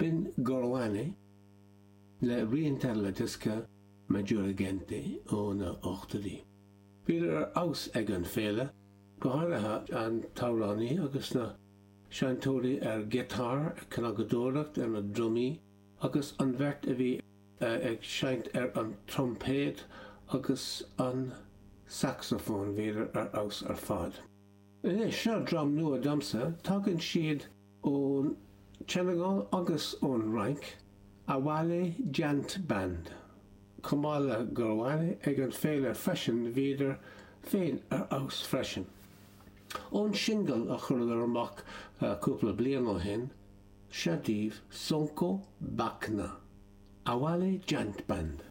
B'in Gerwane le Rientra la Diska Maggiore Gente ó na hochtóidí. Bhíodar ar fheabhas ag an féile, go háirithe an t-amhránaí agus na seinnteoirí ar ghiotár, ag cnagadóireacht ar na drumaí agus an bheirt a bhí ag seinnt ar an troimpéad agus an sacsafón, bhíodar ar fheabhas ar fad. Anois, seo dream nua domsa, tagann siad ón tSeineagáil agus ón Fhrainc, Awale Djant Band. Chomh maith le Gerwane ag an féile freisin, bhíodar féin ar fheabhas freisin. Ón singil a chuireadar amach cúpla bliain ó shin, seo daoibh Sonko Bakna, Awale Djant Band.